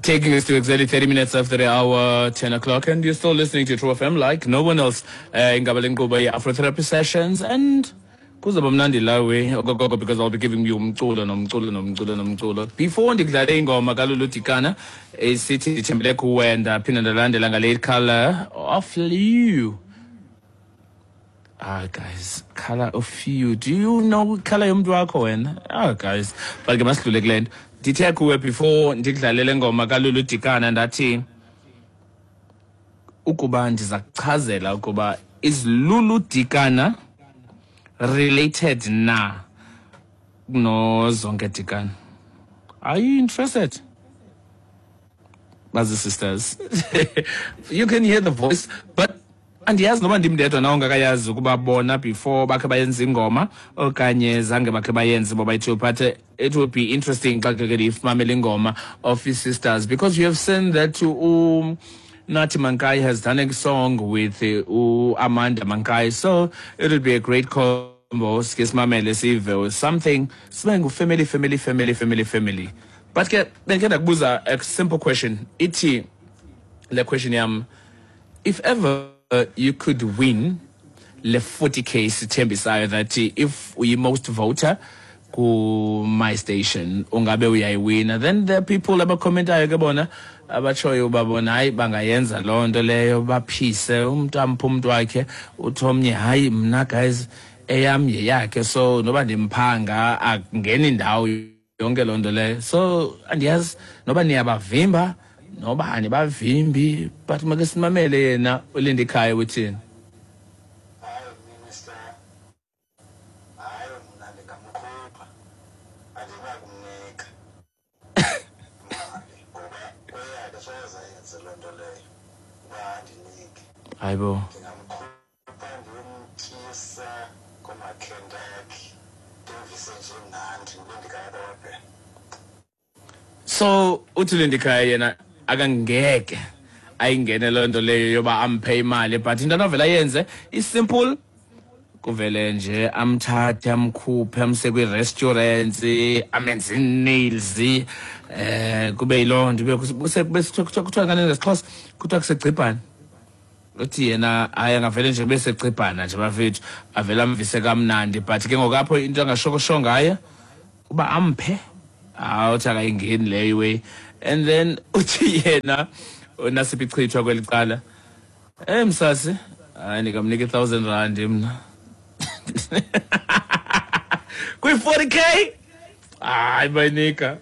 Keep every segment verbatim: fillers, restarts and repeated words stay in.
Taking us to exactly thirty minutes after the hour, ten o'clock, and you're still listening to True F M like no one else. Ingaba lenkqubo ye-Afrotherapy Sessions, and kuzoba mnandi lawe okokoko because I'll be giving you umculo nomculo nomculo nomculo. Before ndikudlale ingoma kaLulu Dikana esithi ndithembele kuwe, ndaphinda ndalandela ngale Color of You. Ah, guys, Color of You. Do you know color yomntu wakho wena? Ah, guys, but ke masidlule kule nto. Ndithe kuwe before ndikudlalele ngoma kaLulu Dikana ndathi ukuba ndiza kuchazela ukuba is Lulu Dikana related na no Zonke Dikana. Are you interested? Bazi sisters. You can hear the voice, but andiyazi noba ndim ndedwa na ongakayazi ukuba bona before bakhe bayenza ingoma okanye zange bakhe bayenze bobayi-two, but it will be interesting xa ke ndiyifumamele ingoma of his sisters, because you have seen that um Nathi Mankayi has done a song with uh, Amanda Mankayi, so it will be a great combo. Sike simamele sive something sibe ngu-family family family family family. But ke bendikhe ndakubuza a simple question. Ithi le question yam, if ever you could win le forty K sithembisayo that if uyi most voter ku my station ungabe uyayiwina, then there are people abakhomentayo ke bona abatshoyo uba bona hayi bangayenza loo nto leyo, baphise umntu amphe umntu wakhe, uthi omnye hayi mna guys eyam yeyakhe, so noba ndimphanga akungeni indawo yonke loo nto leyo. So andiyazi noba niyabavimba noba anibavimbi, but make simamele yena uLindikhaya uthini. Hayibo, so uthi Lindikhaya yena akangeke ayingene loo nto leyo yoba amphe imali, but into anovela ayenze isimple, kuvele nje amthathe amkhuphe amse kwi-restaurants, amenze nails, eh kube yiloo nto kuthiwa ngani ngesiXhosa, kuthiwa kusegcibhana. Uthi yena hayi angavele nje kube segcibhana nje bafethu, avele amvise kamnandi, but ke ngoku apho into angashokosho ngayo uba amphe, awuthi akayingeni leyo way. And then uthi yena uNasiphi Chithwa kweli cala, eh msasi hayi ndikamnika i-thousand rand mna kwi-forty K. Hayi mayinika,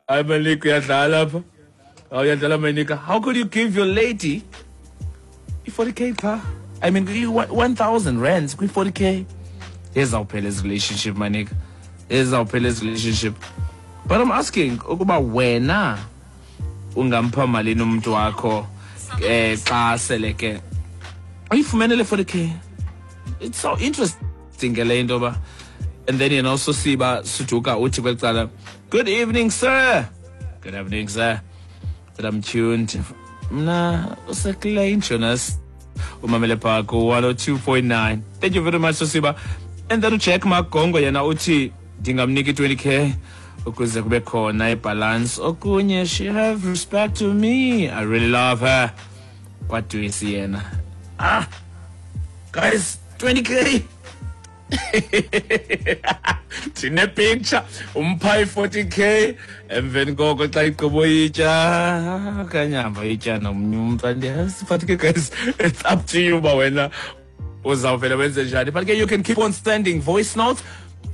hayi mayinika, uyadlala apha, uyadlala mayinika. How could you give your lady i-forty K qha? I mean one thousand rands kwi-forty K. Ezawuphela ezi relationship manika, ezawuphela ezi relationship. But I'm asking ukuba wena ungampha malini umuntu wakho eh xa sele ke uyifumene le forty K. It's so interesting ke le into ba. And then yena also siba Suduka uthi kweli cala, good evening sir. Good evening sir. That I'm tuned. Mna usekule Jonas umamele pha ku one oh two point nine. Thank you very much Sosiba. And then uJack Magongo yena uthi ndingamnika i-twenty K ukuze kube khona ibalance. Okunye, she have respect to me, I really love her. Kwadwisi yena. Ah guys, twenty K. Ndine picture umpha i-forty K emveni koko xa igqibo itya okanye hamba itya nomnye umntu andiyazi. But ke guys, it's up to you uba wena uzawuvele wenze njani. But ke you can keep on sending voice notes.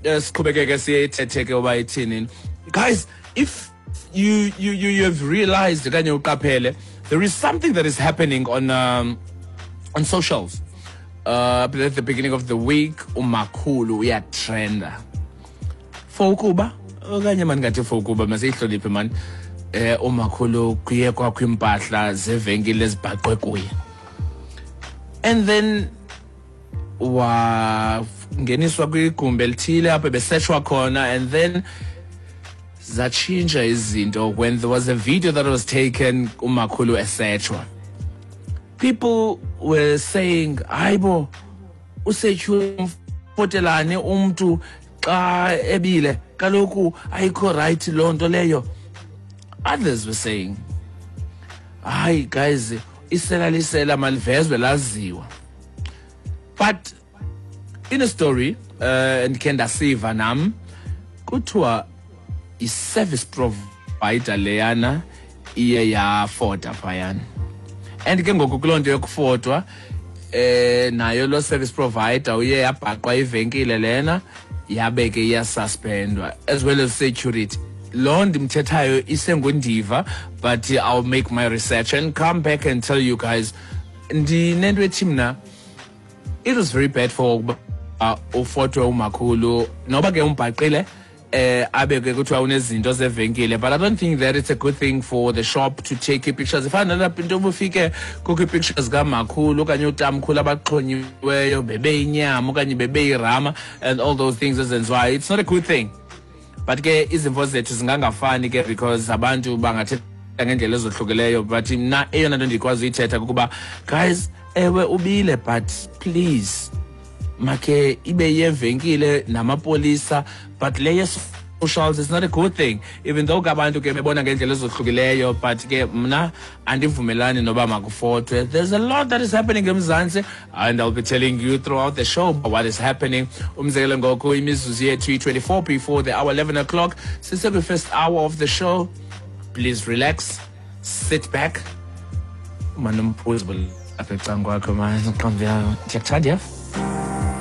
Siqhubekeke siyithethe ke uba ithini. Guys, if you you you you have realized okanye uqaphele, there is something that is happening on um, on socials. Uh, at the beginning of the week, umakhulu uyatrenda for ukuba okanye mani ngathi for ukuba masiyihloniphe mani, eh umakhulu kuye kwakho impahla zevenkile ezibhaqwe kuye, and then wangeniswa kwigumbi elithile apho besetshwa khona, and then zatshintsha izinto when there was a video that was taken umakhulu esetshwa. People were saying hayibo usetshwe umfotelane umntu xa ebile kaloku ayikho right loo nto leyo. Others were saying Hayi guys, isela lisela, malivezwe laziwa. But in a story uh ndikhe ndasiva nam, kuthiwa i-service provider leyana iye yafota phayana, and ke ngoku kuloo nto yokufotwa eh nayo lo service provider uye yabhaqwa ivenkile lena, yabe ke iyasuspendwa as well as security. Lo ndimthethayo isengundiva, but I'll make my research and come back and tell you guys. Ndinento ethi mna it was very bad for ukuba uh, ufotwe umakhulu, noba ke umbhaqile eh abe ke kuthiwa unezinto zevenkile, but I don't think that it's a good thing for the shop to take pictures. Ifana nalapha into ubufike kukho ii-pictures kamakhulu okanye utamkhulu abaxhonyiweyo bebe inyama okanye bebe irama and all those things ezenziwayo. It's not a good thing, but ke izimvo zethu zingangafani ke, because abantu bangathetha ngendlela ezohlukileyo. But mna eyona nto ndikwazi uyithetha kukuba guys, ewe ubile, but please make ibe yevenkile namapolisa, but le ye-socials is not a good thing, even though ke abantu ke bebona ngendlela ezohlukileyo, but ke mna andivumelani noba makufotwe. There's a lot that is happening eMzantsi, and I'll be telling you throughout the show what is happening. Umzekelo, ngoku imizuzu yethu iyi-twenty-four before the hour, eleven o'clock, sisekwi-first hour of the show. Please relax, sit back, manomphuzi apha ecaleni kwakho, man. Ndiyakuthanda, yef.